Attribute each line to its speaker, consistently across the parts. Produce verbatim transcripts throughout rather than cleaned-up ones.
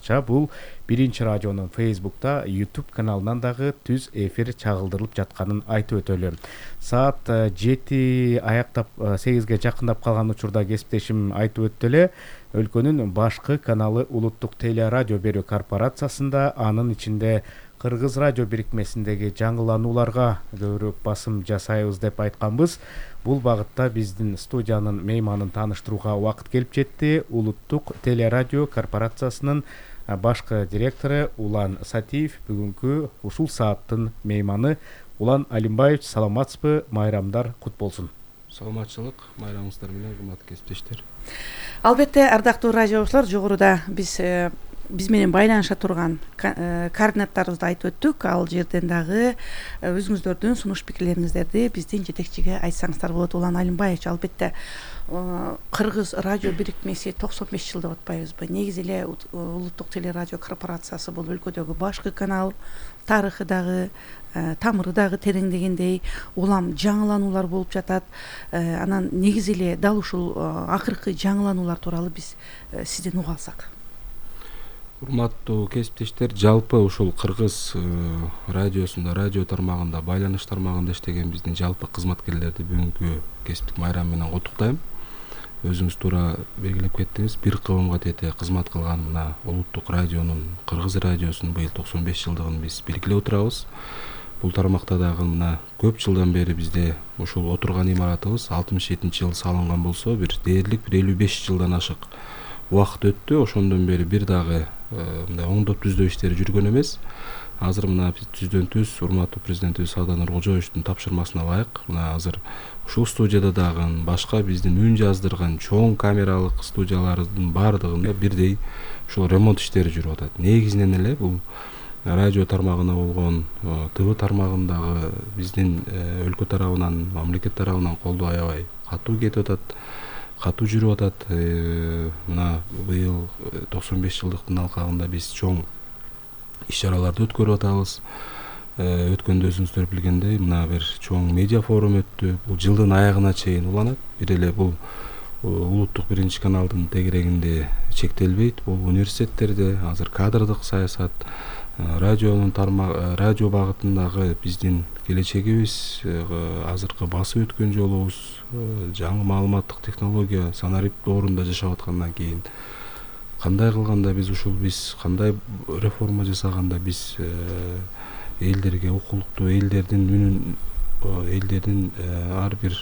Speaker 1: айтымдарынча бул биринчи радионун Facebook'та YouTube каналынан дагы түз эфир чагылдырылып жатканын айтып өтөлү. Саат жети аяктап сегизге жакындап калган учурда кесиптешим айтып өттү эле, өлкөнүн башкы каналы Улуттук теле радио берүү корпорациясында, анын ичинде Кыргыз радио бирикмесиндеги жаңыланууларга көбүрөөк басым жасайбыз деп айтканбыз. Бул багытта биздин студиянын мейманын тааныштырууга убакыт келип жетти. Улуттук теле радио корпорациясынын башкы директору Улан Сатиев бүгүнкү ушул сааттын мейманы. Улан Алимбаевич, саламатсызбы? Майрамдар кут болсун.
Speaker 2: Саламатчылык, майрамыңыздар менен, урматтуу кесиптештер.
Speaker 3: Албетте, ардактуу радиочулар, жогоруда биз биз менен байланыша турган координаттарыбызды айтып өттүк. Ал жерден дагы өзүңүздөрдүн сунуш пикирлериңиздерди биздин жетекчиге айтсаңыздар болот. Улан Алимбаевич, албетте Кыргыз радио бирикмеси токсон беш жыл деп атпайбызбы? Негизи эле Улуттук теле радио корпорациясы бул өлкөдөгү башкы канал, тарыхы дагы, тамыры дагы терең дегендей, улам жаңылануулар болуп жатат. Анан негизи эле дал ушул акыркы жаңылануулар тууралуу биз сизден уга алсак.
Speaker 2: Урматтуу кесиптештер, жалпы ушул Кыргыз радиосунда, радио тармагында, байланыш тармагында иштеген биздин жалпы кызматкерлерди бүгүнкү кесиптик майрам менен куттуктайм. Өзүңүз туура белгилеп кеттиңиз, бир кылымга тете кызмат кылган мына Улуттук радионун, Кыргыз радиосунун быйыл токсон беш жылдыгын биз белгилеп отурабыз. Бул тармакта дагы мына көп жылдан бери бизде ушул отурган имаратыбыз алтымыш жетинчи жылы салынган болсо, бир дээрлик бир элүү беш жылдан ашык убакыт өттү. Ошондон бери бир дагы мындай оңдоп түздөө иштери жүргөн эмес. Азыр мына түздөн түз урматтуу президентибиз Сооронбай Нуркожоевичтин тапшырмасына ылайык мына азыр ушул студияда дагы башка биздин үн жаздырган чоң камералык студиялардын баардыгында бирдей ушул ремонт иштери жүрүп атат. Негизинен эле бул радио тармагына болгон, ТВ тармагындагы биздин өлкө тарабынан, мамлекет тарабынан колдоо аябай катуу кетип атат, катуу жүрүп атат. Мына быйыл токсон беш жылдыктын алкагында биз чоң иш-чараларды өткөрүп атабыз. Өткөндө өзүңүздөр билгендей, мына бир чоң медиа форум өттү. Бул жылдын аягына чейин уланат. Бир эле бул улуттук биринчи каналдын тегерегинде чектелбейт. Бул университеттерде азыр кадрдык саясат, радионун тармак, радио багытындагы биздин келечегибиз, азыркы басып өткөн жолубуз, жаңы маалыматтык технология санарип доорунда жашап аткандан кийин кандай кылганда биз ушул биз кандай реформа жасаганда биз элдерге, укуктуу элдердин үнүн, элдердин ар бир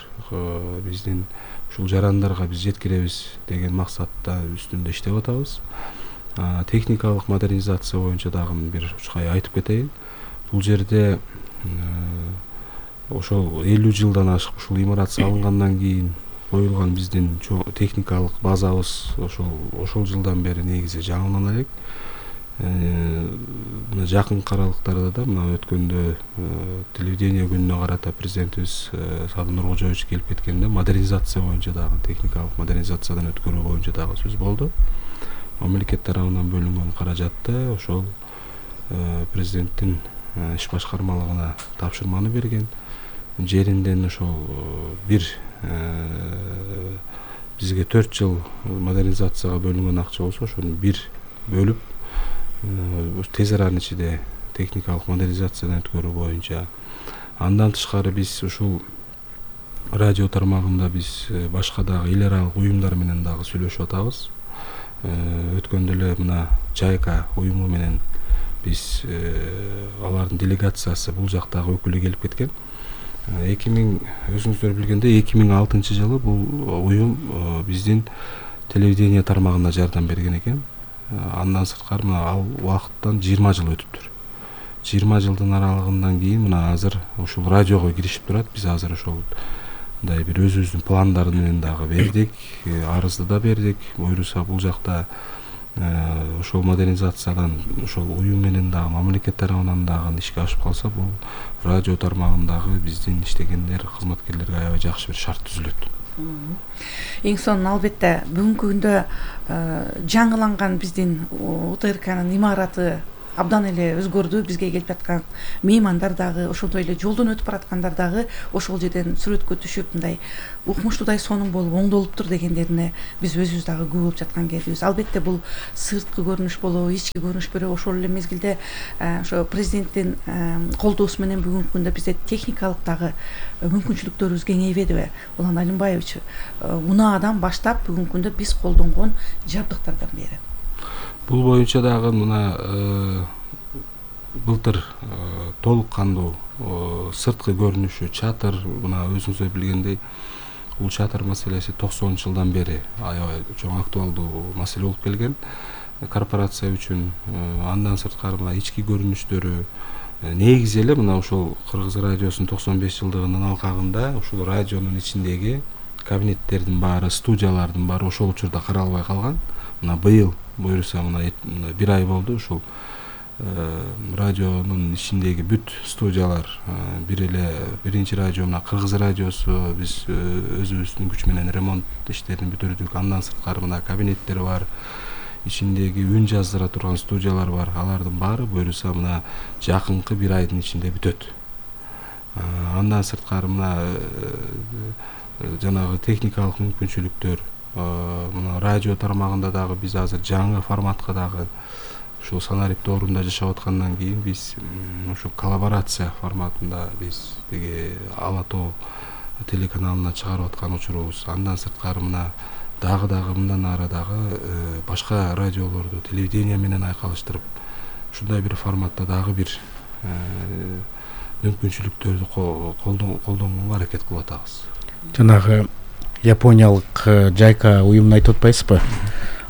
Speaker 2: биздин ушул жарандарга биз жеткиребиз деген максатта үстүндө иштеп атабыз. Техникалык модернизация боюнча дагы бир учкай айтып кетейин. Бул жерде ошол элүү жылдан ашык ушул имарат салынгандан кийин коюлган биздин техникалык базабыз ошол ошол жылдан бери негизи жаңылана элек. Мына жакынкы аралыктарда да мына өткөндө телевидение күнүнө карата президентибиз Сооронбай Нуркожоевич келип кеткенде модернизация боюнча дагы, техникалык модернизациядан өткөрүү боюнча дагы сөз болду. Мамлекет тарабынан бөлүнгөн каражатты ошол президенттин иш башкармалыгына тапшырманы берген. Жеринден ошол бир бизге төрт жыл модернизацияга бөлүнгөн акча болсо, ошону бир бөлүп тез аранын ичинде техникалык модернизациядан өткөрүү боюнча. Андан тышкары биз ушул радио тармагында биз башка дагы эл аралык уюмдар менен дагы сүйлөшүп атабыз. Өткөндө эле мына Жайка уюму менен биз алардын делегациясы бул жактагы өкүлү келип кеткен. эки миң өзүңүздөр билгендей эки миң алтынчы жылы бул уюм биздин телевидение тармагына жардам берген экен. Андан сырткары мына ал убакыттан жыйырма жыл өтүптүр. жыйырма жылдын аралыгынан кийин мына азыр ушул радиого киришип турат. Биз азыр ошол мындай бир өзүбүздүн пландарды менен дагы бердик, арызды да бердик. Буюрса бул жакта ошол модернизациядан ошол уюм менен дагы мамлекет тарабынан дагы ишке ашып калса, бул радио тармагындагы биздин иштегендер, кызматкерлерге аябай жакшы бир шарт түзүлөт.
Speaker 3: Эң сонун албетте бүгүнкү күндө жаңыланган биздин УТРКнын имараты абдан эле өзгөрдү. Бизге келип жаткан меймандар дагы, ошондой эле жолдон өтүп бараткандар дагы ошол жерден сүрөткө түшүп мындай укмуштуудай сонун болуп оңдолуптур дегендерине биз өзүбүз дагы күбө болуп жаткан кезибиз. Албетте бул сырткы көрүнүш болобу, ички көрүнүш болобу, ошол эле мезгилде ошо президенттин колдоосу менен бүгүнкү күндө бизде техникалык дагы мүмкүнчүлүктөрүбүз кеңейбедиби? Улан Алимбаевич, унаадан баштап бүгүнкү күндө биз колдонгон жабдыктардан бери
Speaker 2: бул боюнча дагы мына былтыр толук кандуу сырткы көрүнүшү, чатыр, мына өзүңүздөр билгендей, бул чатыр маселеси токсонунчу жылдан бери аябай чоң актуалдуу маселе болуп келген корпорация үчүн. Андан сырткары мына ички көрүнүштөрү негизи эле мына ошол Кыргыз радиосунун токсон беш жылдыгынын алкагында ушул радионун ичиндеги кабинеттердин баары, студиялардын баары ошол учурда каралбай калган. Мына быйыл буюрса мына бир ай болду ушул радионун ичиндеги бүт студиялар бир эле биринчи радио мына Кыргыз радиосу биз өзүбүздүн күч менен ремонт иштерин бүтүрдүк. Андан сырткары мына кабинеттер бар, ичиндеги үн жаздыра турган студиялар бар. Алардын баары буюрса мына жакынкы бир айдын ичинде бүтөт. Андан сырткары мына жанагы техникалык мүмкүнчүлүктөр, мына радио тармагында дагы биз азыр жаңы форматка дагы ушул Санарип доорунда жашап аткандан кийин биз ушу коллаборация форматында биз тиги Ала Тоо телеканалына чыгарып аткан учурубуз. Андан сырткары мына дагы дагы мындан ары дагы башка радиолорду телевидение менен айкалыштырып ушундай бир форматта дагы бир мүмкүнчүлүктөрдү колдонгонго аракет кылып атабыз.
Speaker 1: Жанагы Япониялык Жайка уюмун айтып атпайсызбы?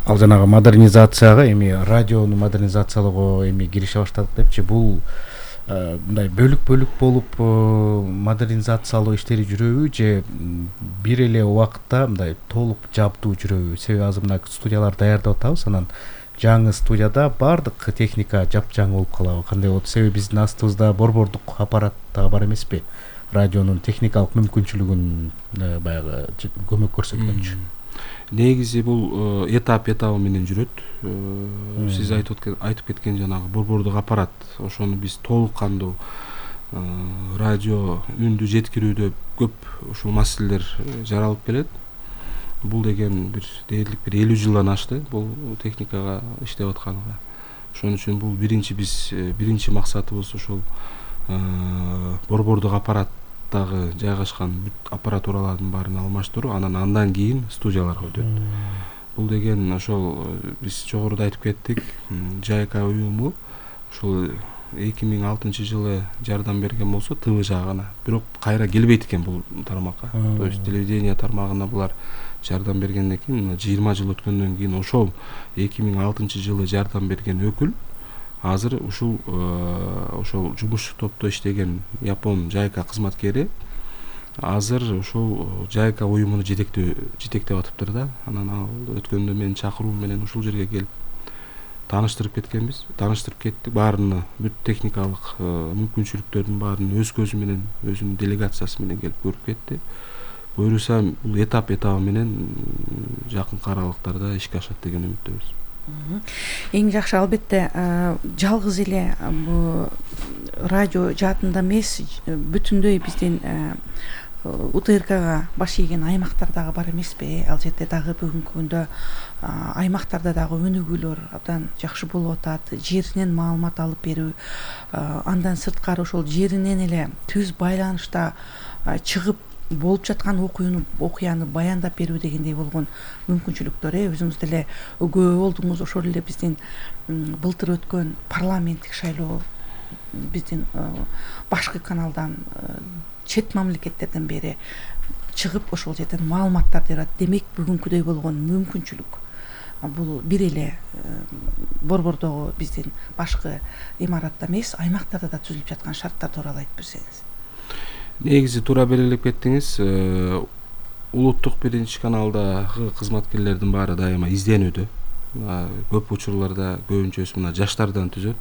Speaker 1: Ал жанагы модернизацияга, эми радиону модернизациялоого эми кирише баштадык депчи, бул мындай бөлүк-бөлүк болуп модернизациялоо иштери жүрөбү же бир эле убакытта мындай толук жабдуу жүрөбү? Себеби азыр мына студияларды даярдап атабыз, анан жаңы студияда баардык техника жапжаң болуп калабы? Кандай болот? Себеби биздин астыбызда борбордук аппарат дагы бар эмеспи? Радионун техникалык мүмкүнчүлүгүн баягы көмөк көрсөткөнчү.
Speaker 2: Негизи бул этап этабы менен жүрөт. Сиз айтып кеткен жанагы борбордук аппарат, ошону биз толук кандуу радио үндү жеткирүүдө көп ушул маселелер жаралып келет. Бул деген бир дээрлик бир элүү жылдан ашты бул техникага иштеп атканга. Ошон үчүн бул биринчи биз биринчи максатыбыз ушул борбордук аппараттагы жайгашкан бүт аппаратуралардын баарын алмаштыруу, анан андан кийин студияларга өтөт. Бул деген ошол биз жогоруда айтып кеттик, Жайка уюму ошол эки миң алтынчы жылы жардам берген болсо ТВ жагына, бирок кайра келбейт экен бул тармакка. То есть телевидение тармагына булар жардам бергенден кийин жыйырма жыл өткөндөн кийин ошол эки миң алтынчы жылы жардам берген өкүл азыр ушул ошол жумушчу топто иштеген япон Жайка кызматкери азыр ушул Жайка уюмуну жетектеп жетектеп атыптыр да. Анан ал өткөндө менин чакыруум менен ушул жерге келип тааныштырып кеткенбиз. Тааныштырып кеттик баарыны, бүт техникалык мүмкүнчүлүктөрдүн баарын өз көзү менен, өзүнүн делегациясы менен келип көрүп кетти. Буюрса бул этап этабы менен жакынкы аралыктарда ишке ашат деген үмүттөбүз.
Speaker 3: Эң жакшы албетте жалгыз эле бул радио жаатында эмес, бүтүндөй биздин УТРКга баш ийген аймактар дагы бар эмеспи? Ал жерде дагы бүгүнкү күндө аймактарда дагы өнүгүүлөр абдан жакшы болуп атат. Жеринен маалымат алып берүү, андан сырткары ошол жеринен эле түз байланышта чыгып болуп жаткан окуяны окуяны баяндап берүү дегендей болгон мүмкүнчүлүктөр өзүңүз деле күбө болдуңуз. Ошол эле биздин былтыр өткөн парламенттик шайлоо биздин башкы каналдан чет мамлекеттерден бери чыгып ошол жерден маалыматтарды берет. Демек бүгүнкүдөй болгон мүмкүнчүлүк бул бир эле борбордогу биздин башкы имаратта эмес, аймактарда да түзүлүп жаткан шарттар тууралуу айтып берсеңиз.
Speaker 2: Негизи туура белгилеп кеттиңиз. Улуттук биринчи каналдагы кызматкерлердин баары дайыма изденүүдө. Көп учурларда көбүнчөсү мына жаштардан түзөт.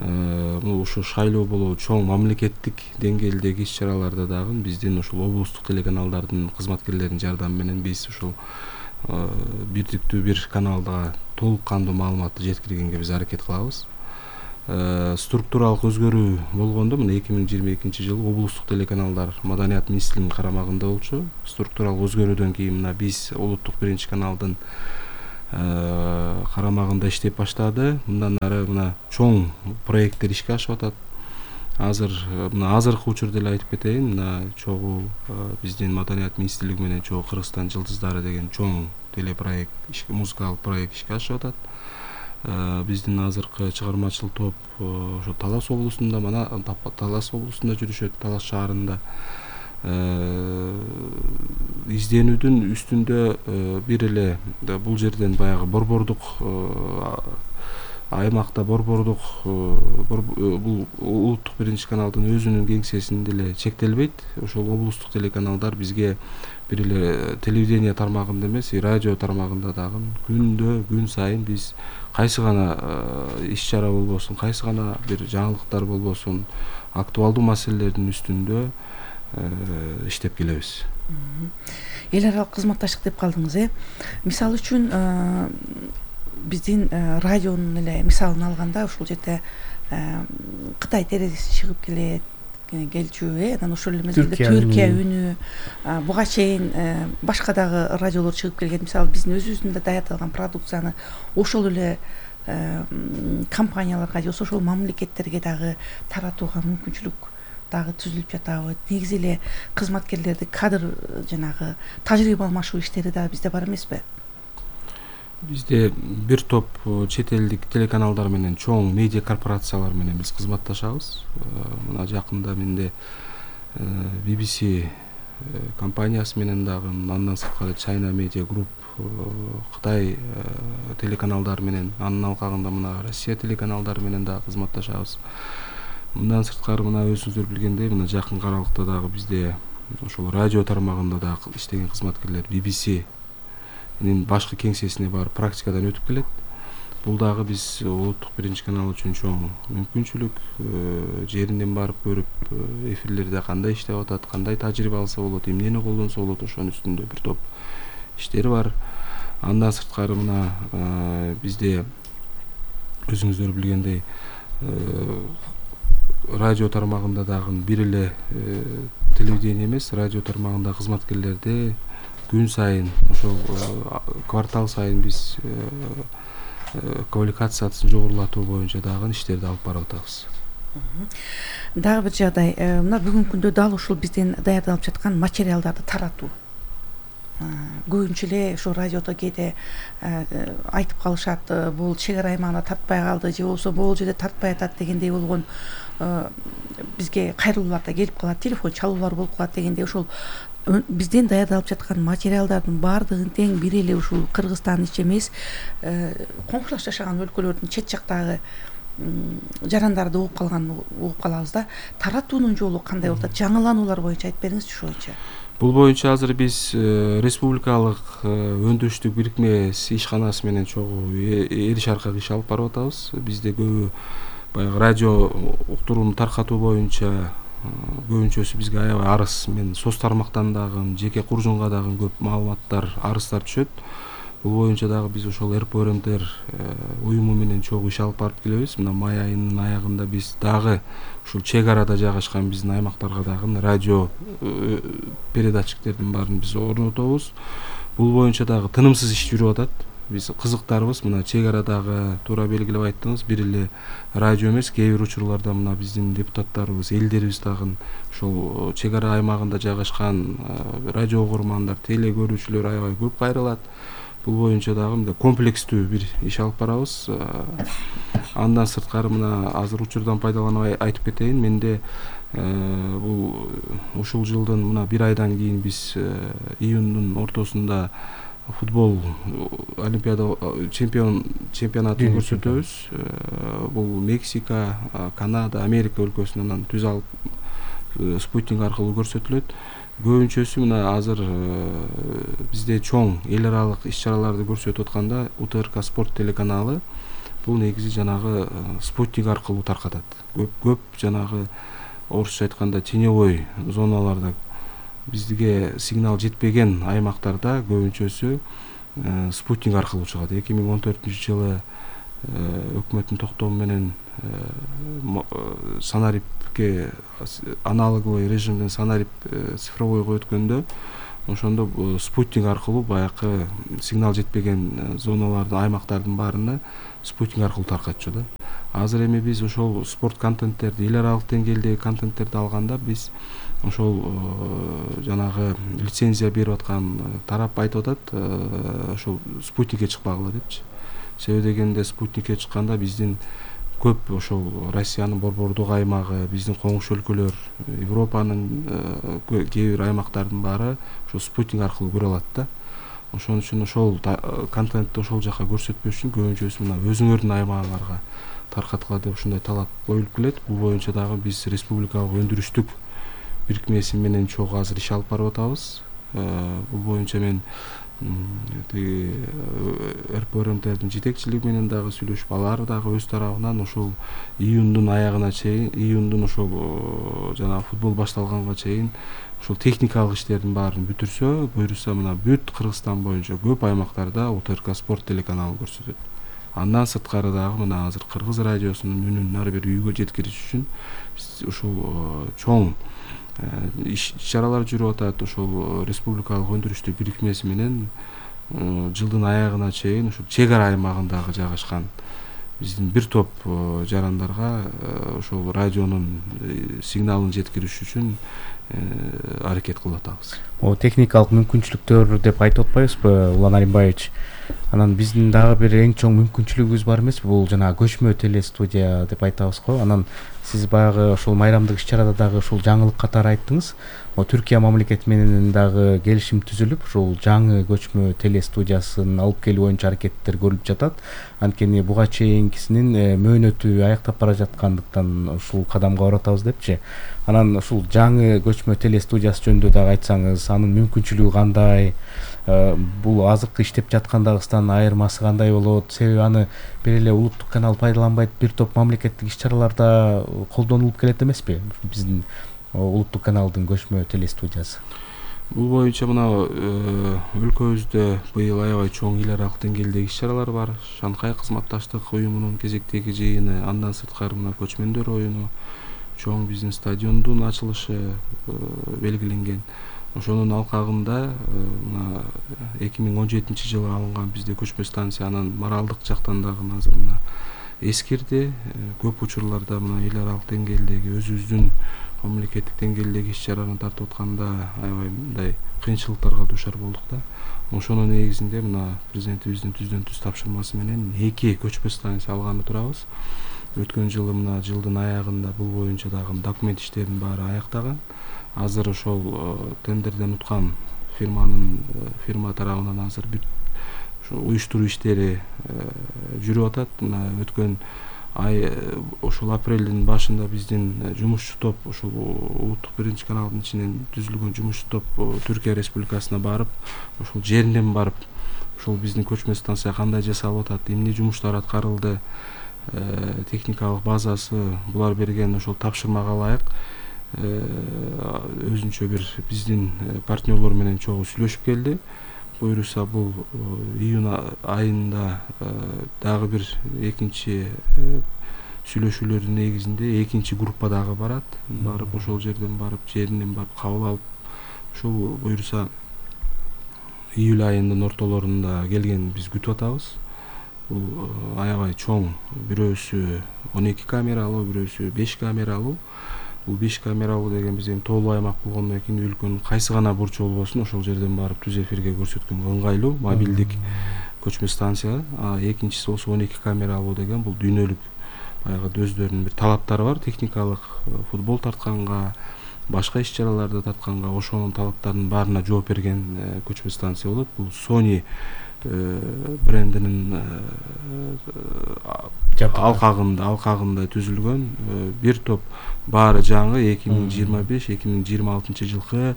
Speaker 2: Ушу шайлоо болобу чоң мамлекеттик деңгээлдеги иш-чараларда дагы биздин ушул облустук телеканалдардын кызматкерлеринин жардамы менен биз ушул бирдиктүү бир каналда толук кандуу маалыматты жеткиргенге биз аракет кылабыз. структуралык өзгөрүү болгондо мына эки миң жыйырма экинчи жылы облустук телеканалдар Маданият министрлигинин карамагында болчу. Структуралык өзгөрүүдөн кийин мына биз улуттук биринчи каналдын карамагында иштеп баштады. Мындан ары мына чоң проекттер ишке ашып атат. Азыр мына азыркы учурда эле айтып кетейин, мына чогуу биздин Маданият министрлиги менен чогуу Кыргызстан жылдыздары деген чоң телепроект, музыкалык проект ишке ашып атат. Биздин азыркы чыгармачыл топ ошо Талас облусунда, мана Талас облусунда жүрүшөт, Талас шаарында. Изденүүдүн үстүндө бир эле бул жерден баягы борбордук аймакта борбордук бул улуттук биринчи каналдын өзүнүн кеңсесинде эле чектелбейт. Ошол облустук телеканалдар бизге бир эле телевидение тармагында эмес, радио тармагында дагы күндө күн сайын биз кайсы гана иш чара болбосун, кайсы гана бир жаңылыктар болбосун, актуалдуу маселелердин үстүндө иштеп келебиз.
Speaker 3: Эл аралык кызматташтык деп калдыңыз, э? Мисалы үчүн биздин радионун эле мисалын алганда, ушул жерде Кытай терезеси чыгып келет, келчү, э, анан ошол эле мезгилде Түркия үнү, буга чейин башка дагы радиолор чыгып келген. Мисалы биздин өзүбүздүн да даярдалган продукцияны ошол эле компанияларга же ошол мамлекеттерге дагы таратууга мүмкүнчүлүк дагы түзүлүп жатабы. Негизи эле кызматкерлерди кадр жанагы тажрыйба алмашуу иштери дагы бизде бар эмеспи?
Speaker 2: Бизде бир топ чет элдик телеканалдар менен, чоң медиа корпорациялар менен биз кызматташабыз. Мына жакында менде би би си компаниясы менен дагы, андан сырткары China Media Group, Кытай телеканалдары менен, анын алкагында мына Россия телеканалдары менен дагы кызматташабыз. Мындан сырткары мына өзүңүздөр билгендей, мына жакын аралыкта дагы бизде ошол радио тармагында дагы иштеген кызматкерлер би би синин башкы кеңсесине барып практикадан өтүп келет. Бул дагы биз улуттук биринчи канал үчүн чоң мүмкүнчүлүк. Жеринен барып көрүп, эфирлерде кандай иштеп атат, кандай тажрыйба алса болот, эмнени колдонсо болот, ошонун үстүндө бир топ иштери бар. Андан сырткары мына бизде өзүңүздөр билгендей радио тармагында дагы бир эле телевидение эмес, радио тармагында кызматкерлерди күн сайын, ошол квартал сайын биз квалификациясын жогорулатуу боюнча дагы иштерди алып барып атабыз.
Speaker 3: Дагы бир жагдай, мына бүгүнкү күндө дал ушул биздин даярдалып жаткан материалдарды таратуу. Көбүнчө эле ошо радиодо кээде айтып калышат, бул чек ара аймагына тартпай калды, же болбосо бул жерде тартпай атат дегендей болгон бизге кайрылуулар да келип калат, телефон чалуулар болуп калат дегендей. Ошол бизден даярдалып жаткан материалдардын баардыгын тең бир эле ушул Кыргызстан ичи эмес, коңшулаш жашаган өлкөлөрдүн чет жактагы жарандарды угуп калган угуп калабыз да. Таратуунун жолу кандай болот? Жаңылануулар боюнча айтып бериңизчи ушул боюнча.
Speaker 2: Бул боюнча азыр биз республикалык өндүрүштүк бирикмеси ишканасы менен чогуу эр шаркак иш алып барып атабыз. Бизде көбү баягы радио уктурууну таркатуу боюнча көбүнчөсү бизге аябай арыз, мен соц тармактан дагы, жеке куржунга дагы көп маалыматтар, арыздар түшөт. Бул боюнча дагы биз ошол эр пэ эр эм дер уюму менен чогуу иш алып барып келебиз. Мына май айынын аягында биз дагы ушул чек арада жайгашкан биздин аймактарга дагы радио передатчиктердин баарын биз орнотобуз. Бул боюнча дагы тынымсыз иш жүрүп атат. Биз кызыктарбыз. Мына чек арадагы туура белгилеп айттыңыз, бир эле радио эмес, кээ бир учурларда мына биздин депутаттарыбыз, элдерибиз дагы ошол чек ара аймагында жайгашкан радио угурмандар, теле көрүүчүлөр аябай көп кайрылат. Бул боюнча дагы мындай комплекстүү бир иш алып барабыз. Андан сырткары мына азыр учурдан пайдаланып айтып кетейин. Менде бул ушул жылдын мына бир айдан кийин биз июндун ортосунда футбол олимпиада чемпион чемпионатын көрсөтөбүз. Бул Мексика, Канада, Америка өлкөсүнөн түз алып спутник аркылуу көрсөтүлөт. Көбүнчөсү мына азыр бизде чоң эл аралык иш чараларды көрсөтүп атканда у тэ эр ка спорт телеканалы бул негизи жанагы спутник аркылуу таркатат. Көп көп жанагы орусча айтканда теневой зоналарда, бизге сигнал жетпеген аймактарда көбүнчөсү спутник аркылуу чыгат. эки миң он төртүнчү жылы өкмөттүн токтому менен санарипке аналоговый режимден санарип цифровойго өткөндө ошондо спутник аркылуу баягы сигнал жетпеген зоналардын аймактардын баарына спутник аркылуу таркатчу да. Азыр эми биз ошол спорт контенттерди эл аралык деңгээлдеги контенттерди алганда биз ошол жанагы лицензия берип аткан тарап айтып атат ошол спутникке чыкпагыла депчи. Себеби дегенде спутникке чыкканда биздин көп ошол Россиянын борбордук аймагы, биздин коңшу өлкөлөр, Европанын кээ бир аймактардын баары ошол спутник аркылуу көрө алат да. Ошон үчүн ошол контентти ошол жака көрсөтпөш үчүн көбүнчөсү мына өзүңөрдүн аймагыңарга таркаткыла деп ушундай талап коюлуп келет. Бул боюнча дагы биз республикалык өндүрүштүк бирикмеси менен чогуу азыр иш алып барып атабыз. Бул боюнча мен тиги эр пэ эр эм тердин жетекчилиги менен дагы сүйлөшүп, алар дагы өз тарабынан ошол июндун аягына чейин, июндун ошол жана футбол башталганга чейин ошол техникалык иштердин баарын бүтүрсө, буюрса мына бүт Кыргызстан боюнча көп аймактарда У Т Р К спорт телеканалын көрсөтөт. Андан сырткары дагы мына азыр Кыргыз радиосунун үнүн ар бир үйгө жеткириш үчүн ушул чоң иш-чаралар жүрүп атат. Ошол республикалык өндүрүштүк бирикмеси менен жылдын аягына чейин ушул чек ара аймагындагы жайгашкан биздин бир топ жарандарга ошол радионун сигналын жеткириш үчүн аракет кылып атабыз.
Speaker 1: О техникалык мүмкүнчүлүктөр деп айтып атпайбызбы, Улан Алимбаевич? Анан биздин дагы бир эң чоң мүмкүнчүлүгүбүз бар эмеспи? Бул жана көчмө телестудия деп айтабыз го. Анан сиз баягы ошол майрамдык иш-чарада дагы ушул жаңылык катары айттыңыз. Түркия мамлекети менен дагы келишим түзүлүп, ушул жаңы көчмө телестудиясын алып келүү боюнча аракеттер көрүлүп жатат. Анткени буга чейинкисинин мөөнөтү аяктап бара жаткандыктан ушул кадамга барып атабыз депчи. Анан ушул жаңы көчмө телестудиясы жөнүндө дагы айтсаңыз, анын мүмкүнчүлүгү кандай? Бул азыркы иштеп жаткандагысынан айырмасы кандай болот? Себеби аны бир эле улуттук канал пайдаланбайт, бир топ мамлекеттик иш-чараларда колдонулуп келет эмеспи биздин улуттук каналдын көчмө телестудиясы?
Speaker 2: Бул боюнча мына өлкөбүздө быйыл аябай чоң эл аралык деңгээлдеги иш-чаралар бар. Шанхай кызматташтык уюмунун кезектеги жыйыны, андан сырткары мына көчмөндөр оюну, чоң биздин стадиондун ачылышы белгиленген. Ошонун алкагында мына эки миң он жетинчи жылы алынган бизде көчмө станция анын моралдык жактан дагы азыр мына эскирди. Көп учурларда мына эл аралык деңгээлдеги өзүбүздүн мамлекеттик деңгээлдеги иш-чараны тартып атканда аябай мындай кыйынчылыктарга дуушар болдук да. Ошонун негизинде мына президентибиздин түздөн түз тапшырмасы менен эки көчмө станция алганы турабыз. Өткөн жылы мына жылдын аягында бул боюнча дагы документ иштеринин баары аяктаган. Азыр ошол тендерден уткан фирманын фирма тарабынан азыр бүт уюштуруу иштери жүрүп атат. Мына өткөн ай ошол апрелдин башында биздин жумушчу топ ошол улуттук биринчи каналдын ичинен түзүлгөн жумушчу топ Түркия Республикасына барып, ошол жеринен барып, ошол биздин көчмө станция кандай жасалып атат, эмне жумуштар аткарылды, техникалык базасы, булар берген ошол тапшырмага ылайык өзүнчө бир биздин партнерлор менен чогуу сүйлөшүп келди. Буюрса бул июнь айында дагы бир экинчи сүйлөшүүлөрдүн негизинде экинчи группа дагы барат. Барып ошол жерден барып, жеринен барып кабыл алып, ушул буюрса июль айынын ортолорунда келгенин биз күтүп атабыз. Бул аябай чоң, бирөөсү он эки камералуу, бирөөсү беш камералуу. Бул беш камералуу деген биз эми тоолуу аймак болгондон кийин өлкөнүн кайсы гана бурчу болбосун ошол жерден барып түз эфирге көрсөткөнгө ыңгайлуу мобилдик көчмө станция. А экинчиси болсо он эки камералуу деген бул дүйнөлүк баягы өздөрүнүн бир талаптары бар, техникалык футбол тартканга, башка иш-чараларды тартканга ошонун талаптарынын баарына жооп берген көчмө станция болот. Бул Sony брендинин алкагында алкагында түзүлгөн бир топ баары жаңы эки миң жыйырма беш эки миң жыйырма алтынчы жылкы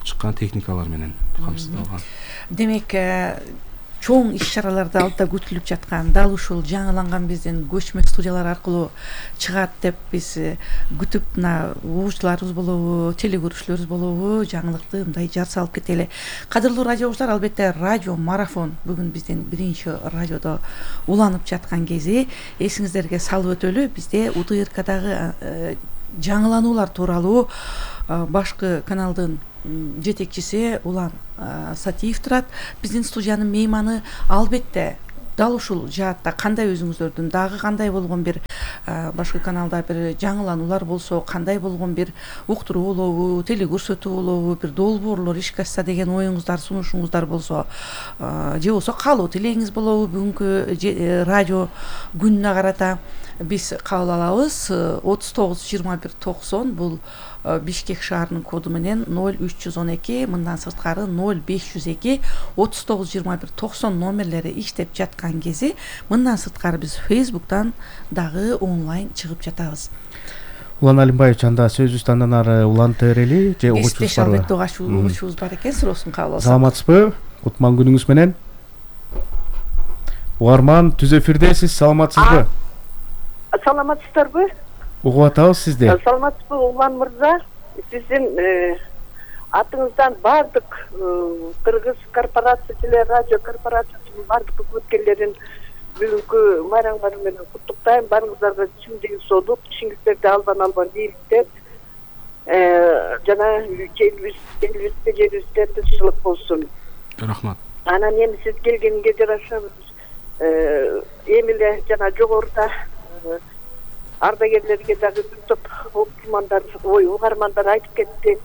Speaker 2: чыккан техникалар менен камсыздалган.
Speaker 3: Демек чоң иш чараларды алдыда күтүлүп жаткан, дал ушул жаңыланган биздин көчмө студиялар аркылуу чыгат деп биз күтүп мына угуучуларыбыз болобу, телекөрүүчүлөрүбүз болобу жаңылыкты мындай жар салып кетели. Кадырлуу радио угуучулар, албетте радио марафон бүгүн биздин биринчи радиодо уланып жаткан кези. Эсиңиздерге салып өтөлү, бизде УТРКдагы жаңылануулар тууралуу башкы каналдын жетекчиси Улан Сатиев турат. Биздин студиянын мейманы. Албетте дал ушул жаатта кандай өзүңүздөрдүн дагы кандай болгон бир башкы каналда бир жаңылануулар болсо, кандай болгон бир уктуруу болобу, телекөрсөтүү болобу, бир долбоорлор ишке ашса деген оюңуздар, сунушуңуздар болсо, же болбосо каалоо тилегиңиз болобу бүгүнкү радио күнүнө карата биз кабыл алабыз. отуз тогуз жыйырма бир токсон бул Бишкек шаарынын коду менен ноль үч жүз он эки, мындан сырткары ноль беш жүз эки отуз тогуз жыйырма бир токсон номерлери иштеп жаткан кези. Мындан сырткары биз Facebook'тан дагы онлайн чыгып жатабыз.
Speaker 1: Улан Алимбаевич, анда сөзүбүздү андан ары улантып берели же угуучубуз барбы?
Speaker 3: Албетте угуучубуз бар экен, суроосун кабыл алсак.
Speaker 1: Саламатсызбы? Кутман күнүңүз менен. Угарман, түз эфирдесиз, саламатсызбы?
Speaker 4: Саламатсыздарбы?
Speaker 1: Угуп атабыз сизди.
Speaker 4: Саламатсызбы Улан мырза? Сиздин атыңыздан бардык Кыргыз корпорация, телерадио корпорациясынын бардык өкмөткерлерин бүгүнкү майрамыңар менен куттуктайм. Баарыңыздарга чын денсаулык, ишиңиздерди албан албан ийгиликтер, жана элибизде жерибизде тынччылык болсун.
Speaker 2: Рахмат.
Speaker 4: Анан эми сиз келгенге жараша эми эле жана жогоруда ардагерлерге дагы бир топ окумандар, ой, угармандар айтып кетти.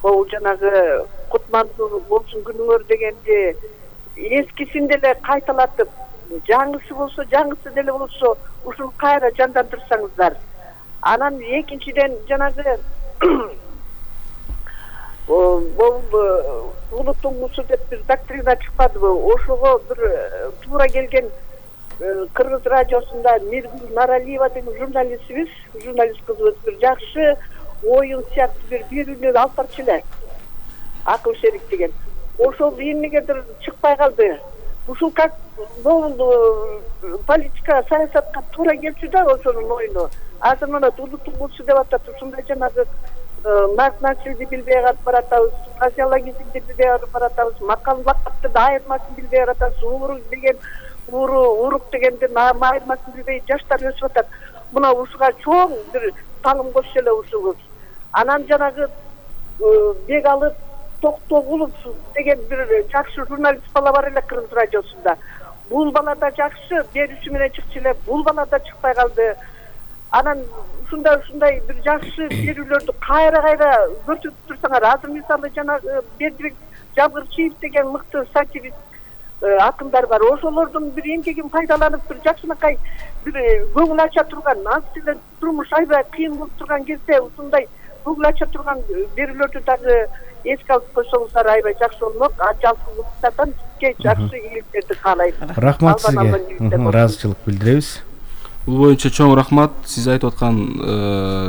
Speaker 4: Бул жанагы кутмандуу болсун күнүңөр дегенди эскисин деле кайталатып, жаңысы болсо, жаңысы деле болсо ушуну кайра жандандырсаңыздар. Анан экинчиден жанагы бул улуттун мусу деп бир доктрина чыкпадыбы? Ошого бир туура келген Кыргыз радиосунда Миргүл Наралиева деген журналистибиз, журналист кызыбыз бир жакшы оюн сыяктуу бир берүүлөр алып барчу эле. Акыл шерик деген. Ошол эмнегедир чыкпай калды. Ушул как бул политика, саясатка туура келчү да ошонун оюну. Азыр мына улуттун мусу деп атат, ушундай жанагы нарк-начилди билбей калып баратабыз, фразеологизмди билбей калып баратабыз, макал лакапты да айырмасын билбей баратабыз, ууру деген уру урук дегендин айырмасын билбей жаштар өсүп атат. Мына ушуга чоң бир таалым кошсо эле ушугуз. Анан жанагы бек алып Токтогулов деген бир жакшы журналист бала бар эле Кыргыз радиосунда. Бул бала да жакшы берүүсү менен чыкчу эле, бул бала да чыкпай калды. Анан ушундай ушундай бир жакшы берүүлөрдү кайра-кайра көрсөтүп турсаңар, азыр мисалы жанагы Бердибек Жабгырчиев деген мыкты сатирист акындар бар. Ошолордун бир эмгегин пайдаланып бир жакшынакай бир көңүл ача турган, азыр эле турмуш аябай кыйын болуп турган кезде ушундай көңүл ача турган берүүлөрдү дагы эске алып койсоңуздар аябай жакшы болмок. Жалпы улуттардан сизге жакшы ийгиликтерди каалайм.
Speaker 1: Рахмат сизге. Ыраазычылык билдиребиз.
Speaker 2: Бул боюнча чоң рахмат. Сиз айтып аткан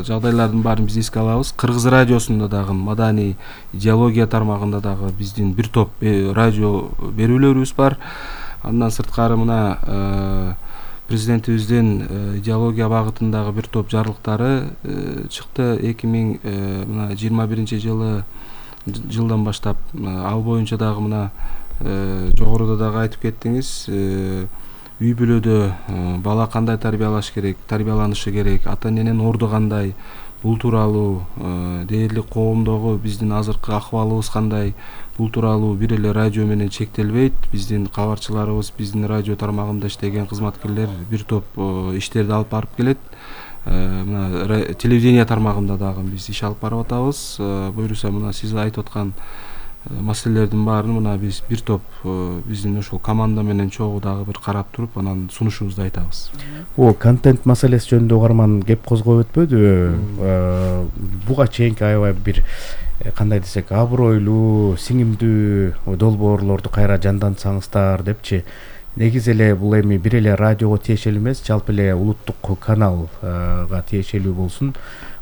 Speaker 2: жагдайлардын баарын биз эске алабыз. Кыргыз радиосунда дагы маданий идеология тармагында дагы биздин бир топ радио берүүлөрүбүз бар. Андан сырткары мына президентибиздин идеология багытындагы бир топ жарлыктары чыкты. эки миң жыйырма биринчи жылы жылдан баштап ал боюнча дагы мына жогоруда дагы айтып кеттиңиз. Үй бүлөдө бала кандай тарбиялаш керек, тарбияланышы керек, ата эненин орду кандай, бул тууралуу дээрлик коомдогу биздин азыркы акыбалыбыз кандай, бул тууралуу бир эле радио менен чектелбейт. Биздин кабарчыларыбыз, биздин радио тармагында иштеген кызматкерлер бир топ иштерди алып барып келет. Мына телевидение тармагында дагы биз иш алып барып атабыз. Буюрса мына сиз айтып аткан маселелердин баарын мына биз бир топ биздин ошол команда менен чогуу дагы бир карап туруп анан сунушубузду айтабыз.
Speaker 1: О, контент маселеси жөнүндө угарман кеп козгоп өтпөдүбү? Буга чейинки аябай бир кандай десек абройлуу, сиңимдүү долбоорлорду кайра жандантсаңыздар депчи. Негизи эле бул эми бир эле радиого тиешелүү эмес, жалпы эле улуттук каналга тиешелүү болсун.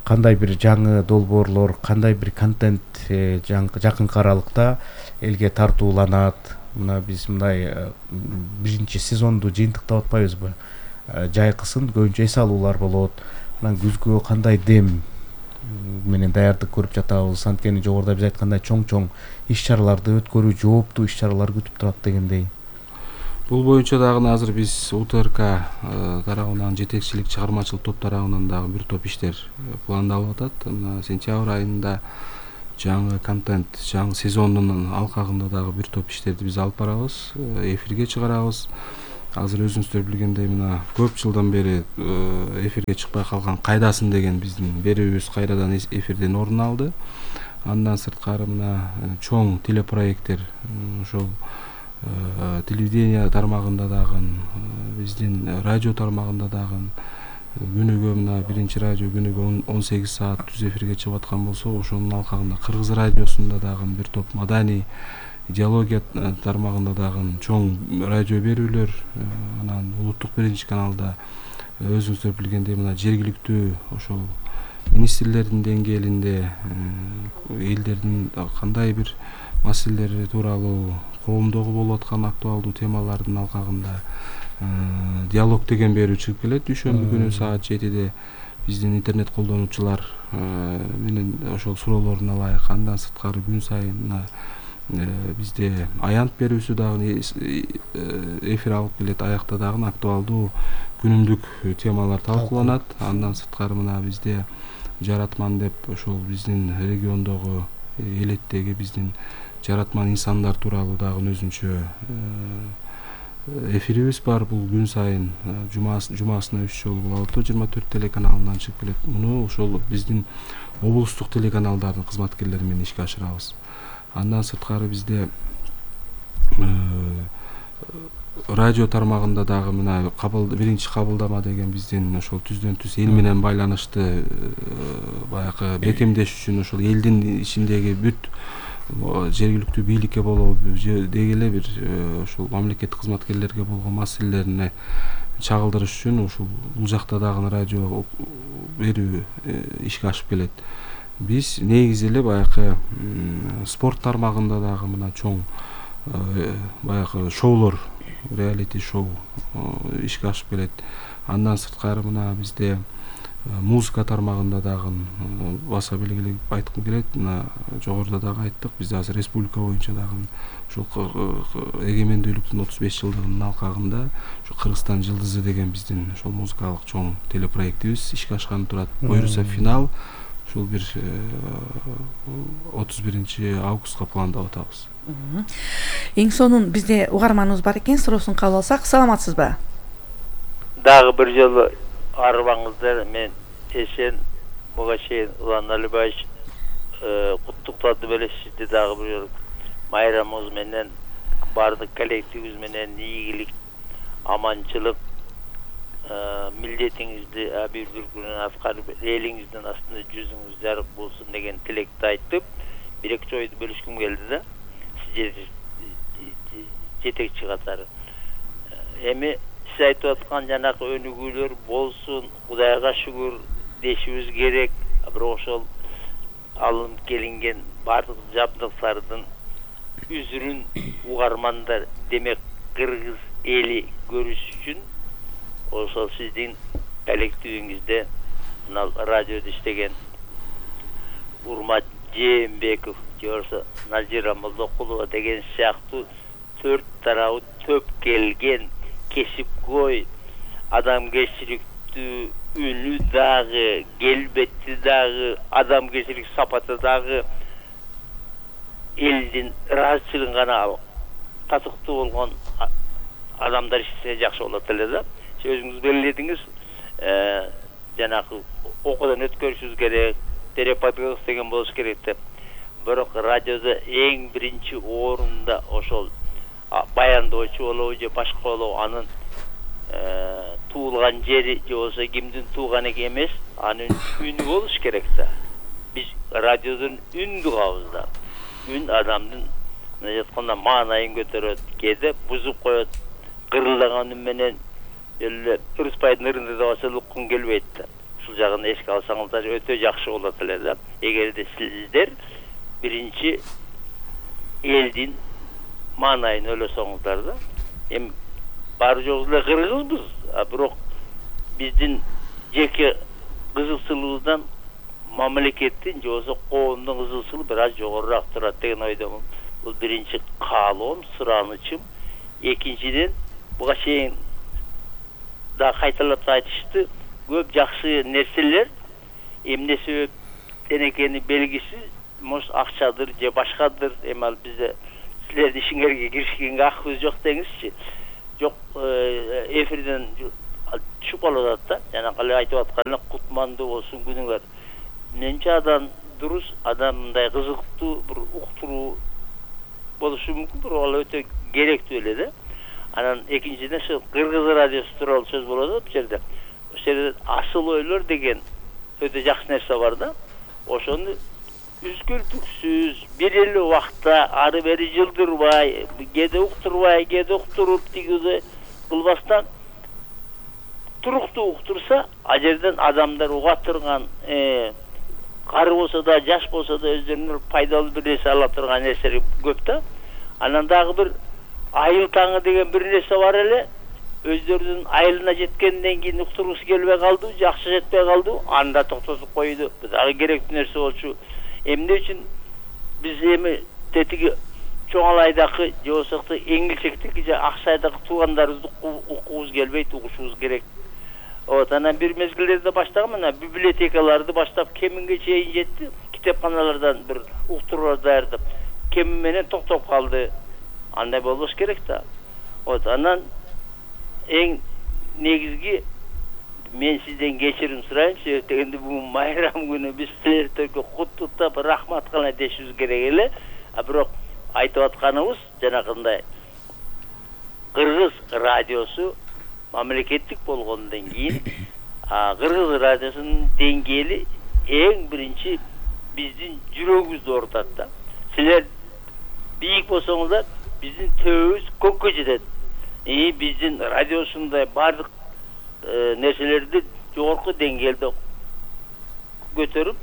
Speaker 1: Кандай бир жаңы долбоорлор, кандай бир контент жакынкы аралыкта элге тартууланат, мына биз мындай биринчи сезонду жыйынтыктап атпайбызбы? Жайкысын көбүнчө эс алуулар болот. Анан күзгү кандай дем менен даярдык көрүп жатабыз. Анткени жогоруда биз айткандай чоң-чоң иш-чараларды өткөрүү, жооптуу иш-чаралар күтүп турат дегендей.
Speaker 2: Бул боюнча дагы азыр биз У Т Р К тарабынан жетекчилик чыгармачылык топ тарабынан дагы бир топ иштер пландалып атат. Мына сентябрь айында жаңы контент, жаңы сезондун алкагында дагы бир топ иштерди биз алып барабыз, эфирге чыгарабыз. Азыр өзүңүздөр билгендей мына көп жылдан бери эфирге чыкпай калган Кайдасын деген биздин берүүбүз кайрадан эфирден орун алды. Андан сырткары мына чоң телепроекттер ошол телевидение тармагында дагы, биздин радио тармагында дагы күнүгө мына биринчи радио күнүгө он сегиз саат түз эфирге чыгып аткан болсо, ошонун алкагында Кыргыз радиосунда дагы бир топ маданий идеология тармагында дагы чоң радио берүүлөр, анан улуттук биринчи каналда өзүңүздөр билгендей мына жергиликтүү ошол министрлердин деңгээлинде элдердин кандай бир маселелери тууралуу, коомдогу болуп аткан актуалдуу темалардын алкагында диалог деген берүү чыгып келет. Дүйшөмбү күнү саат жетиде биздин интернет колдонуучулар менен ошол суроолорун алайык. Андан сырткары күн сайын бизде аянт берүүсү дагы эфир алып келет. Аякта дагы актуалдуу күнүмдүк темалар талкууланат. Андан сырткары мына бизде жаратман деп ошол биздин региондогу элеттеги биздин жаратман инсандар тууралуу дагы өзүнчө эфирибиз бар. Бул күн сайын жумасына үч жолу болуп атат. жыйырма төрт телеканалынан чыгып келет. Муну ошол биздин облустук телеканалдардын кызматкерлери менен ишке ашырабыз. Андан сырткары бизде радио тармагында дагы мына биринчи кабылдама деген биздин ошол түздөн түз эл менен байланышты баягы бекемдеш үчүн ошол элдин ичиндеги бүт жергиликтүү бийликке болобу деги эле бир ошол мамлекеттик кызматкерлерге болгон маселелерине чагылдырыш үчүн ушул бул жакта дагы радио берүү ишке ашып келет. Биз негизи эле баягы спорт тармагында дагы мына чоң баягы шоулор, реалити шоу ишке ашып келет. Андан сырткары мына бизде музыка тармагында дагы баса белгилеп айткым келет. Мына жогоруда дагы айттык, бизде азыр республика боюнча дагы ушул эгемендүүлүктүн отуз беш жылдыгынын алкагында ушу Кыргызстан жылдызы деген биздин ошол музыкалык чоң телепроектибиз ишке ашканы турат. Буюрса финал ушул бир отуз биринчи августка пландап атабыз.
Speaker 3: Эң сонун бизде угарманыбыз бар экен, суроосун кабыл алсак. Саламатсызбы?
Speaker 5: Дагы бир жолу арыбаңыздар, мен эсен буга чейин Улан Алибаевич куттуктады беле сизди дагы бир жолу майрамыңыз менен, бардык коллективибиз менен ийгилик, аманчылык, милдетиңизди бир бир күнүн аткарып, элиңиздин астында жүзүңүз жарык болсун деген тилекти айтып, бир эки ойду бөлүшкүм келди да. Сиз жетекчи катары. Эми сиз айтып аткан жанакы өнүгүүлөр болсун, Кудайга шүгүр дешибиз керек. Бирок ошол алынып келинген бардык жабдыктардын үзүрүн угармандар, демек кыргыз эли көрүш үчүн ошол сиздин коллективиңизде мына радиодо иштеген Урмат Жээнбеков, жорсо Назира Молдокулова деген сыяктуу төрт тарабы төп келген кесипкөй, адамгерчиликтүү үнү дагы, келбети дагы, адамгерчилик сапаты дагы элдин ыраазычылыгын гана татыктуу болгон адамдар иштесе жакшы болот эле да. Өзүңүз белгиледиңиз, жанагы окуудан өткөрүшүбүз керек, терапевт деген болуш керек деп. Бирок радиодо эң биринчи орунда ошол баяндоочу болобу же башка болобу, анын туулган жери же болбосо кимдин тууганы эмес, анын үнү болуш керек да. Биз радиодон үндү кабыз да. Үн адамдын мына жатканда маанайын көтөрөт, кээде бузуп коет, кырылдаган үн менен эле Ырыспайдын ырында да болсо уккун келбейт да. Ушул жагын эске алсаңыздар өтө жакшы болот эле да. Эгерде сиздер биринчи элдин маанайын ойлосоңуздар да. Эми баары жогу эле кыргызбыз, а бирок биздин жеке кызыкчылыгыбыздан мамлекеттин же болбосо коомдун кызыкчылыгы бир аз жогорураак турат деген ойдомун. Бул биринчи каалоом, суранычым. Экинчиден, буга чейин да кайталап айтышты, көп жакшы нерселер эмне себептен экени белгисиз, может акчадыр же башкадыр. Эми ал бизде силердин ишиңерге киришкенге акыбыз жок деңизчи. Жок, эфирден түшүп калып атат да. Жана кале айтып аткан кутмандуу болсун күнүңөр. Менче адам дурус, адам мындай кызыктуу бир уктуруу болушу мүмкүн, бирок ал өтө керектүү эле да. Анан экинчиден ошо кыргыз радиосу тууралуу сөз болот да бул жерде. Ошол жерде асыл ойлор деген өтө жакшы нерсе бар да. Ошону үзгүлтүксүз бир эле убакта ары бери жылдырбай, кээде уктурбай, кээде уктуруп тигиде кылбастан туруктуу уктурса, ал жерден адамдар уга турган, кары болсо да, жаш болсо да өздөрүнө пайдалуу бир нерсе ала турган нерселер көп да. Анан дагы бир айыл таңы деген бир нерсе бар эле. Өздөрүнүн айылына жеткенден кийин уктургусу келбей калды, жакшы жетпей калды, анда токтотуп койду. Бул дагы керектүү нерсе болчу. Эмне үчүн биз эми тетиги чоң алайдакы же болсо эңилчектик же аксайдагы туугандарыбызды укуубуз келбейт, угушубуз керек. Вот, анан бир мезгилдерде баштаган мына библиотекаларды баштап кеминге чейин жетти, китепканалардан бир уктуруулар даярдап, кеми менен токтоп калды. Андай болбош керек да. Вот, анан эң негизги мен сизден кечирим сурайынчы, эртеңде бүгүн майрам күнү биз силердерге куттуктап рахмат гана дешибиз керек эле. А бирок айтып атканыбыз жанагындай кыргыз радиосу мамлекеттик болгондон кийин кыргыз радиосунун деңгээли эң биринчи биздин жүрөгүбүздү оорутат да. Силер бийик болсоңуздар, биздин төбөбүз көккө жетет. И биздин радиосундай бардык нерселерди жогорку деңгээлде көтөрүп,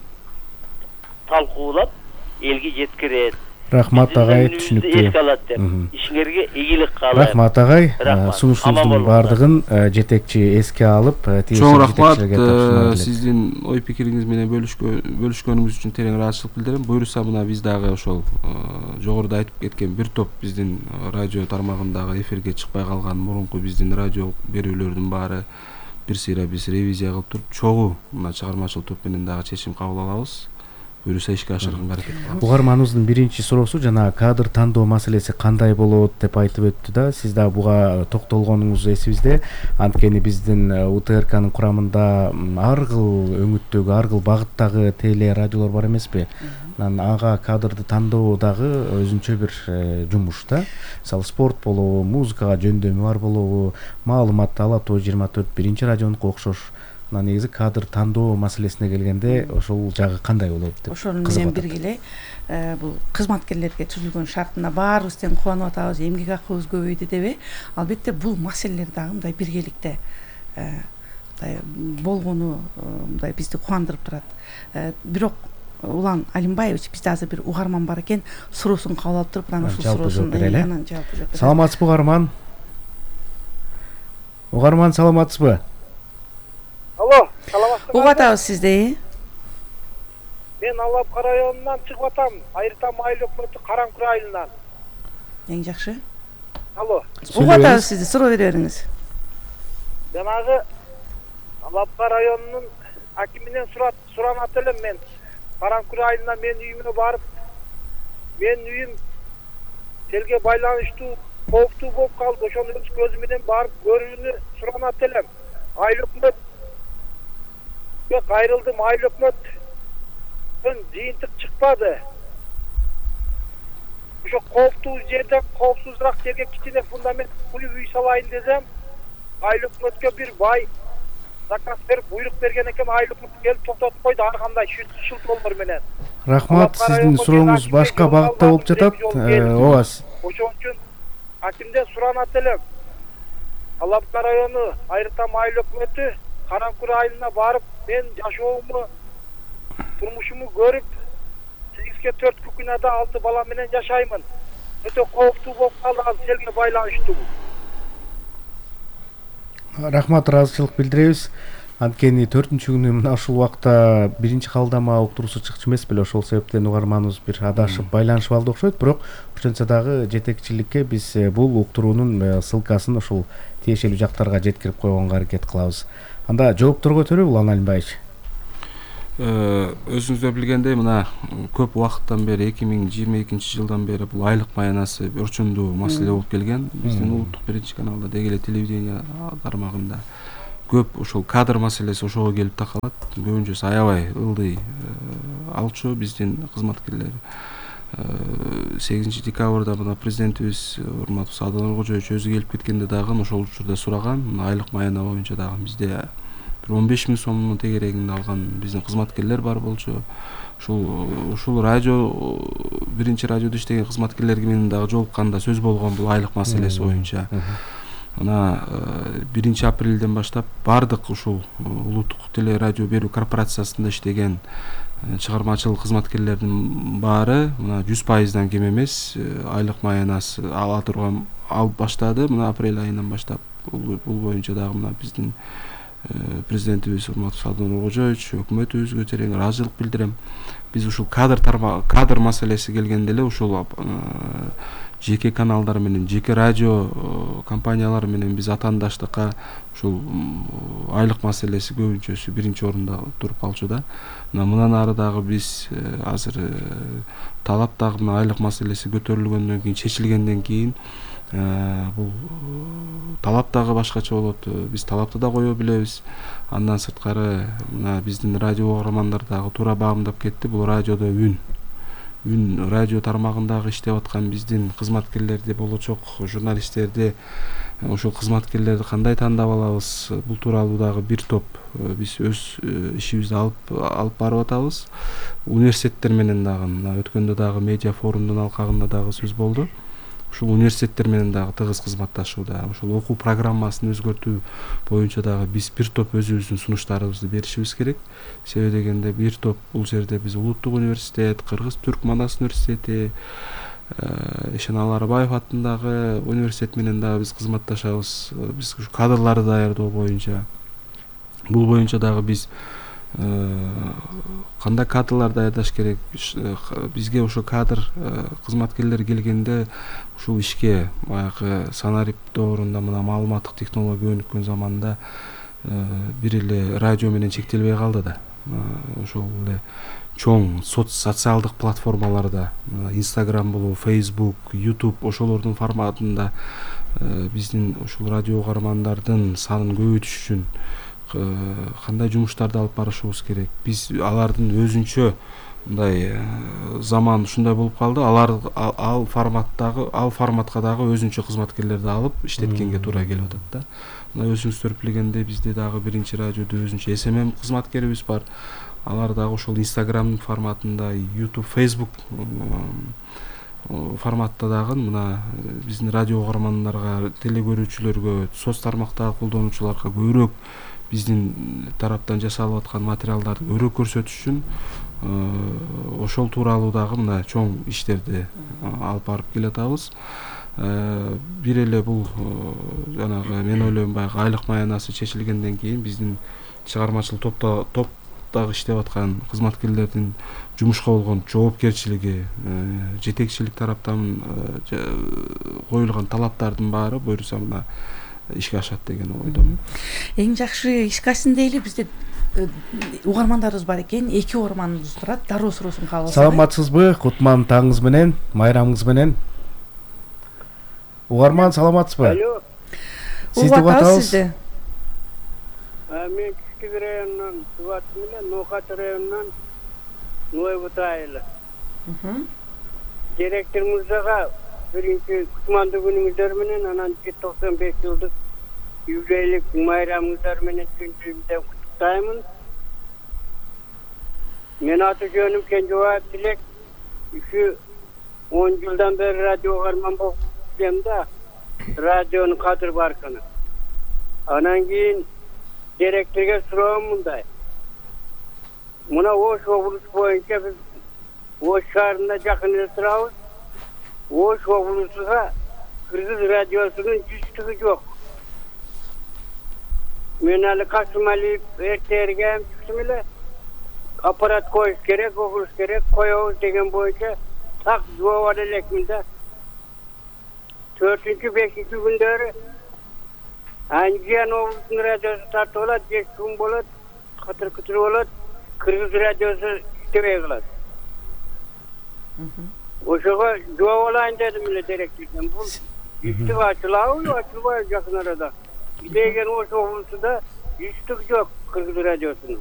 Speaker 5: талкуулап, элге жеткирет.
Speaker 1: Рахмат агай, түшүнүктүү.
Speaker 5: Эске алат деп. Ишиңерге ийгилик каалайм.
Speaker 1: Рахмат агай. Сунушуңуздун бардыгын жетекчи эске алып,
Speaker 2: чоң рахмат. Сиздин ой пикириңиз менен бөлүшкөнүңүз үчүн терең ыраазычылык билдирем. Буюрса мына биз дагы ошол жогоруда айтып кеткен бир топ биздин радио тармагындагы эфирге чыкпай калган мурунку биздин радио берүүлөрдүн баары бир сыйра биз ревизия кылып туруп, чогуу мына чыгармачылык топ менен дагы чечим кабыл алабыз. Буюрса ишке ашырганга аракет кылабыз.
Speaker 1: Угарманыбыздын биринчи суроосу жана кадр тандоо маселеси кандай болот деп айтып өттү да. Сиз да буга токтолгонуңуз эсибизде. Анткени биздин У Т Р Кнын курамында ар кыл өңүттөгү, ар кыл багыттагы теле радиолор бар эмеспи? Анан ага кадрды тандоо дагы өзүнчө бир жумуш да. Мисалы спорт болобу, музыкага жөндөмү бар болобу, маалыматты ала тоо жыйырма төрт биринчи радионуку окшош. Мына негизи кадр тандоо маселесине келгенде ошол жагы кандай болот деп.
Speaker 3: Ошол менен бирге эле бул кызматкерлерге түзүлгөн шартына баарыбыз тең кубанып атабыз, эмгек акыбыз көбөйдү деп. Албетте бул маселелер дагы мындай биргеликте мындай болгону мындай бизди кубандырып турат. Бирок Улан Алимбаевич, бизде азыр бир угарман бар экен, суроосун кабыл алып туруп, анан ушул суроосун анан жооп берет.
Speaker 1: Саламатсызбы угарман? Угарман, саламатсызбы?
Speaker 6: Алло, саламатсызбы?
Speaker 3: Угуп атабыз сизди.
Speaker 6: Мен Алапка районунан чыгып атам, Айыртам айыл өкмөтү Караңкүр айылынан.
Speaker 3: Эң жакшы.
Speaker 6: Алло.
Speaker 3: Угуп атабыз сизди, суроо бере бериңиз.
Speaker 6: Жанагы Алапка районунун акиминен суранат элем мен. Караңкүр айылына мен үйүмө барып, мен үйүм телге байланыштуу, кооптуу болуп калды. Ошону өз көзүм менен барып көрүүнү суранат элем. Айыл өкмөт кайрылдым, айыл өкмөттөн жыйынтык чыкпады. Ошо кооптуу жерден коопсузураак жерге кичине фундамент куюп үй салайын десем, айыл өкмөткө бир бай заказ берип буйрук берген экен, айыл өкмөт келип токтотуп койду ар кандай шылтоолор менен.
Speaker 1: Рахмат, сиздин сурооңуз башка багытта болуп жатат. Ооба.
Speaker 6: Ошон үчүн акимден суранат элем. Алапка району Айыртам айыл өкмөтү Караңкүр айылына барып, мен жашоому, турмушуму көрүп, сегизге төрт күкүнада алты бала менен жашаймын. өтө кооптуу болуп калды, ал селге байланыштуу.
Speaker 1: Рахмат, ыраазычылык билдиребиз. Анткени төртүнчү күнү мына ушул убакта биринчи кабылдама уктуруусу чыкчу эмес беле, ошол себептен угарманыбыз бир адашып байланышып алды окшойт. Бирок ошентсе дагы жетекчиликке биз бул уктуруунун ссылкасын ушул тиешелүү жактарга жеткирип койгонго аракет кылабыз. Анда жоопторго өтөлүбү, Улан Алимбаевич.
Speaker 2: Өзүңүздөр билгендей, мына көп убакыттан бери эки миң жыйырма экинчи жылдан бери бул айлык маянасы орчундуу маселе болуп келген. Биздин улуттук биринчи каналда, деги эле телевидение тармагында көп ушул кадр маселеси ошого келип такалат. Көбүнчөсү аябай ылдый алчу биздин кызматкерлер. сегизинчи декабрда мына президентибиз урматтуу Садыр Нуркожоевич өзү келип кеткенде дагы ошол учурда сураган. Айлык маяна боюнча дагы бизде он беш миң сомдун тегерегинде алган биздин кызматкерлер бар болчу. Ушул ушул радио биринчи радиодо иштеген кызматкерлер менен дагы жолукканда сөз болгон бул айлык маселеси боюнча. Мына биринчи апрелден баштап бардык ушул улуттук теле радио берүү корпорациясында иштеген чыгармачылык кызматкерлердин баары мына жүз пайыздан кем эмес айлык маянасы ала турган алып баштады. Мына апрель айынан баштап бул боюнча дагы мына биздин президентибиз урматтуу Садыр Нуркожоевич, өкмөтүбүзгө терең ыраазычылык билдирем. Биз ушул кадр кадр маселеси келгенде эле ушул жеке каналдар менен, жеке радио компаниялар менен биз атаандаштыкка ушул айлык маселеси көбүнчөсү биринчи орунда туруп калчу да. Мына мындан ары дагы биз азыр талап дагы мына айлык маселеси көтөрүлгөндөн кийин, чечилгенден кийин бул талап дагы башкача болот. Биз талапты да кое билебиз. Андан сырткары мына биздин радио угармандар дагы туура багымдап кетти. Бул радиодо үн үн радио тармагындагы иштеп аткан биздин кызматкерлерди, болочок журналисттерди, ошол кызматкерлерди кандай тандап алабыз, бул тууралуу дагы бир топ биз өз ишибизди алып алып барып атабыз. Университеттер менен дагы мына өткөндө дагы медиа форумдун алкагында дагы сөз болду. Ушул университеттер менен дагы тыгыз кызматташууда. Ушул окуу программасын өзгөртүү боюнча дагы биз бир топ өзүбүздүн сунуштарыбызды беришибиз керек. Себеби дегенде бир топ бул жерде биз Улуттук университет, Кыргыз-Түрк Манас университети, Ишеналы Арбаев атындагы университет менен дагы биз кызматташабыз. Биз ушу кадрларды даярдоо боюнча, бул боюнча дагы биз кандай кадрлар даярдаш керек, бизге ошо кадр кызматкерлер келгенде ушул ишке баягы санарип доорунда мына маалыматтык технология өнүккөн заманда бир эле радио менен чектелбей калды да. Ошол эле чоң социалдык платформаларда, Instagram болобу, Facebook, YouTube ошолордун форматында биздин ушул радио угармандардын санын көбөйтүш үчүн кандай жумуштарды алып барышыбыз керек. Биз алардын өзүнчө мындай заман ушундай болуп калды. Алар ал форматтагы, ал форматка дагы өзүнчө кызматкерлерди алып иштеткенге туура келип атат да. Мына өзүңүздөр билгендей бизде дагы биринчи радиодо өзүнчө эс эм эм кызматкерибиз бар. Алар дагы ошол Instagram форматында, YouTube, Facebook форматта дагы мына биздин радио угармандарга, теле көрүүчүлөргө, соц тармактагы колдонуучуларга көбүрөөк биздин тараптан жасалып аткан материалдарды өрөө көрсөтүш үчүн ошол тууралуу дагы мына чоң иштерди алып барып келатабыз. Бир эле бул жанагы мен ойлойм баягы айлык маянасы чечилгенден кийин биздин чыгармачылык топто топтогу иштеп аткан кызматкерлердин жумушка болгон жоопкерчилиги, жетекчилик тараптан коюлган талаптардын баары буюрса мына ишке ашат деген ойдомун.
Speaker 3: Эң жакшы ишке ашсын дейли. Бизде угармандарыбыз бар экен. Эки угарманыбыз турат. Дароо суроосун кабыл алсак.
Speaker 1: Саламатсызбы? Кутман таңыңыз менен, майрамыңыз менен. Угарман, саламатсызбы?
Speaker 6: Алло.
Speaker 1: Сизди угатабыз.
Speaker 6: Мен Кичкиз районунан Субат менен Нокат районунан Нойбут айылы. Директор мырзага биринчи кутмандуу күнүңүздөр менен, анан токсон беш жылдык юбилейлик майрамыңыздар менен түнүндөн куттуктаймын. Мен аты жөнүм Кенжебаев Тилек. Ушу он жылдан бери радио угарман болуп келем да, радионун кадыр баркыны. Анан кийин директорго суроом мындай. Мына Ош облусу боюнча биз Ош шаарында жакын эле турабыз.
Speaker 7: Ош облусуга Кыргыз радиосунун жүздүгү жок. Мен али Касымалиев эртергем чыктым эле. Аппарат коюш керек, окуш керек, коебуз деген боюнча так жооп ала элекмин да. төртүнчү бешинчи күндөрү Анжан облусунун радиосу тартып алат, беш күн болот, катыр кытыр болот, Кыргыз радиосу иштебей калат. Ошого жооп алайын дедим эле директордон. Бул жүздүк ачылабы, ачылбайбы жакын арада. Деген Ош облусунда жүздүк жок Кыргыз радиосунун.